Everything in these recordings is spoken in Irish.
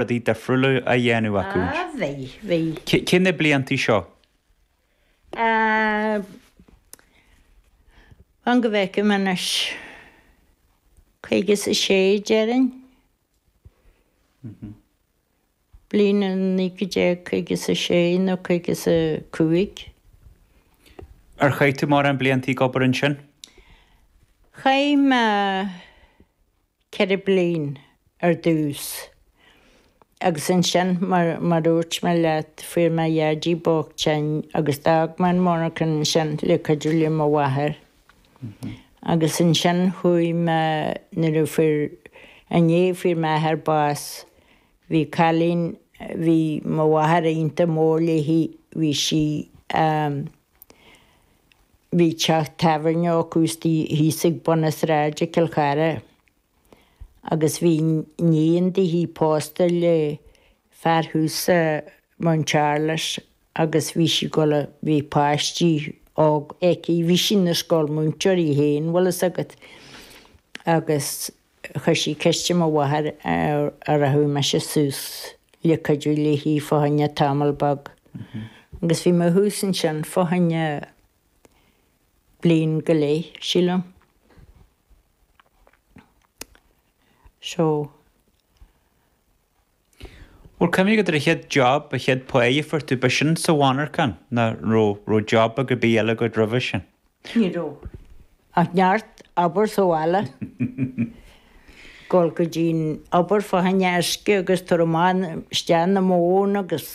Rudaí difriúla á dhéanamh acu. Ah, bhí, bhí. Cé na bliantaí seo? Ah, fan go bhfeicim anois. 56 déarfainn. Bliain 1956 nó 55. Ar chaith tú mórán bliantaí ag obair ansin? Chaith mé 4 bliain ar dtús agus ansin mar mar dúirt mé leat fuair mo dhaidí bocht tinn agus d'fhág mé an mhonarchan ansin le cuidiú le mo mháthair agus ansin chuaigh mé nuair a fuair i ndiaidh a fuair m'athair bás bhí cailín bhí mo mháthair iontach mór léi bhí sí Bhí teach tábhairne acu istigh thíos ag bun na sráide i Cill Chartha agus bhí iníon dithe pósta le fear thuas i Mount Charles agus bhí sí ag dul a, bhí páistí óg aici, bhí sí ina scoil múinteoir í féin, bhfuil fhios agat, agus chuir sí ceist ar mo mháthair an rachadh mise suas le cuidiú léi fá choinne tamall beag. Agus bhí mé thuas ansin fá choinne bliain go leith, sílim. So. Bhfuil cuimhne agat ar an chéad job, an chéad pháigh a fuair tú, b'shin sa mhonarchan nó raibh, raibh job ar bith eile agat roimhe sin? Ní raibh. Ach neart obair sa bhaile. Dul go dtí'n obair fá choinne uisce agus tabhair amach isteach na móin agus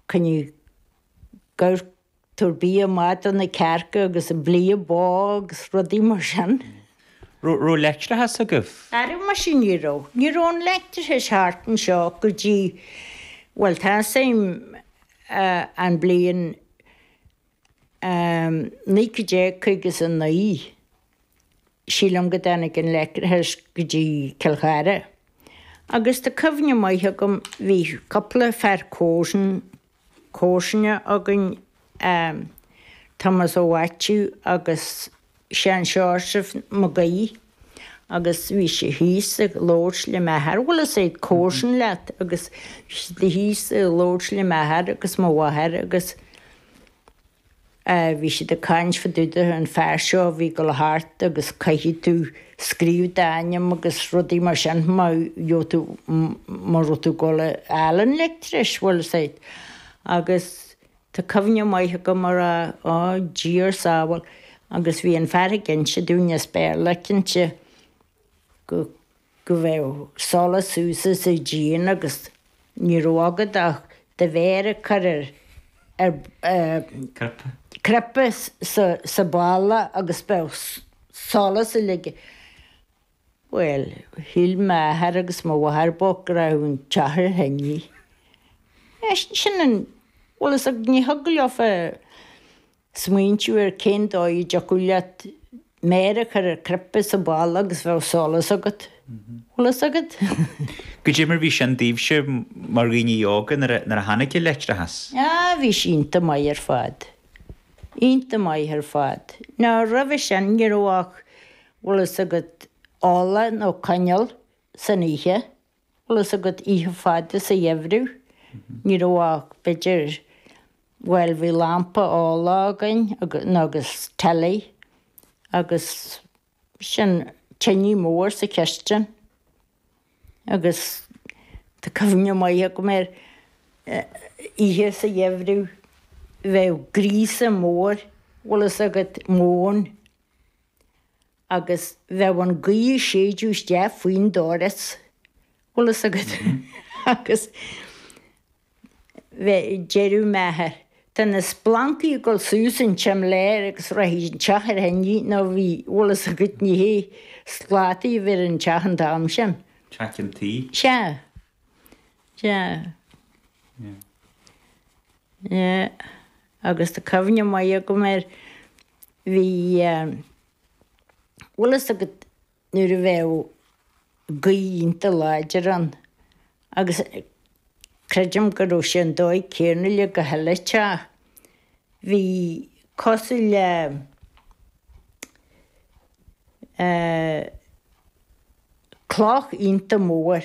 coinnigh gabhar Tabhair bia maith do na cearca agus blíodh bó agus rudaí mar sin. Raibh leictreachas agaibh? Ara muise ní raibh. Ní raibh an leictreachas thart anseo go dtí, bhuel tá 'fhios a'm an bliain 1959 sílim go dtáinig an leictreachas go dtí Cill Chartha. Agus tá cuimhne maith agam bhí cúpla fear comharsan comharsana againn, Tomás Ó Mhaitiú agus Seán Seosamh Mac Aoidh agus bhí sé thíos ag labhairt le m'athair, bhfuil fhios a'd, comharsan leat agus bhí siad thíos ag labhairt le m'athair agus mo mháthair agus bhí siad ag caint fá dtaobh de an fear seo a bhí ag dul thart agus caithfidh tú scríobh d'ainm agus rudaí mar sin má gheobhaidh tú má raibh tú ag dul a fháil an leictreachais, bhfuil fhios a'd. Agus tá cuimhne maith agam a rá, á Dia ár sábháil agus bhí an fear ag inse dúinn as Béarla cinnte go go bheadh solas suas sa díon agus ní raibh agat ach do mhéar a chur ar ar cnaipe sa bhalla agus bheadh solas uilig. Bhuel, shíl m'athair agus mo mháthair bocht go raibh an teach ar thine. Sin an, bhfuil fhios agat, ní thig leofa smaointiú ar cén dóigh a dtiocfadh leat méar a chur ar chnaipe sa bhalla agus bheadh solas agat. Bhfuil fhios agat? Goidé mar bhí sin daoibhse mar dhaoine óga nuair a tháinig an leictreachas? Ah, bhí sé iontach maith ar fad. Iontach maith ar fad. Now roimhe sin ní raibh ach, bhfuil fhios agat, ola nó coinneal san oíche. Bhfuil fhios agat, oíche fada sa gheimhreadh, ní raibh ach, b'fhéidir, bhuel, bhí lampa ola againn nó agus telly agus sin tine mór sa chistin agus tá cuimhne maith agam ar oíche sa gheimhreadh, bheadh gríosadh mór, bhfuil fhios agat, móin. agus bheadh an ghaoth ag séideadh isteach faoin doras, bhfuil fhios agat, agus bheadh, deireadh m'athair, tá na splancaí ag dul suas an tsimléar agus rachaidh an teach ar thine nó bhí, bhfuil fhios agat, ní hé slátaí a bhí ar an teach an t-am sin. Teach an tí? Sea. Sea. Yeah. Agus tá cuimhne maith agam air, bhí, bhfuil fhios agat nuair a bheadh gaoth iontach láidir ann agus creidim go raibh sé an dóigh céanna le gach uile teach, bhí cosúil le eh cloch iontach mór.